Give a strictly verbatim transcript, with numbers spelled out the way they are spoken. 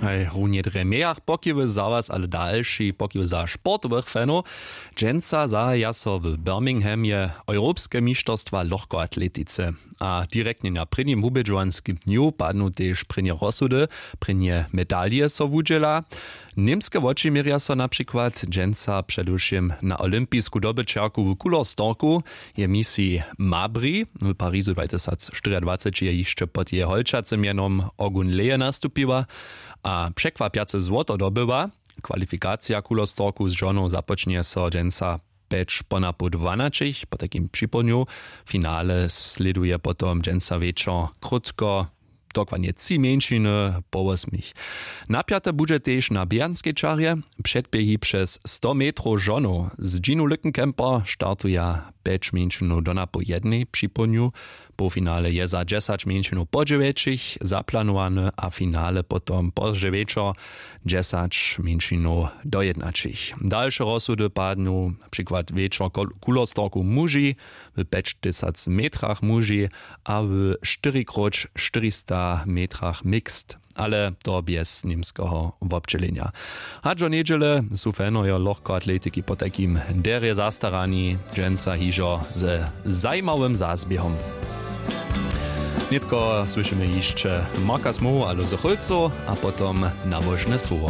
Haj runje drje mejach pokiwy za was ale dalši pokiwy za sportowych fanow. Dźensa zahaja so w birminghamje europske mišterstwa lochkoatletice. A direktnje na prěnim wubědźowanskim dnju padnu tež prěnje rozsudy. Prěnje medalije so wudźěla. Němske wočiměrja so na přikład dźensa předewšěm na olympisku dobyćerku w kulerstorku. Je misiji mabri w parizu dwatysacštyriadwaceći je hišće pod jeje holčacym mjenom ogun leje nastupiła. A překwapjace złoto dobyła. Kwalifikacija kulerstorku z žonow započnje so dźensa pjeć ponapoł dwanaćich po takim připołdnju. Finale slěduje potom dźensa wječor krótko dokładnje tři mjeńšiny po wosmich. Napjate budźe tež na běhanskej čarje. Předběhi přez sto metrow žonow z dźinu lückenkemper startuja pjeć mjeńšinow do napoł jednej připołdnju. Połfinale je za dźesać mjeńšinow po dźewjećich zaplanowany a finale potom pozdźe wječor dźesać mjeńšinow do jednaćich. Dalše rozsudy padnu na přikład wječor kulerstorku muži w pjećtysac metrach muži a w štyrikróć štyrista metrach mixt, ale to bjez němskeho wobdźělenja. Hač do njedźele su fanojo lochkoatletiki potajkim derje zastarani dźensa hižo ze zajimawym zazběhom. Nětko słyšimy hišće marka smowu a luzy chólcow a potom nabožne słowo.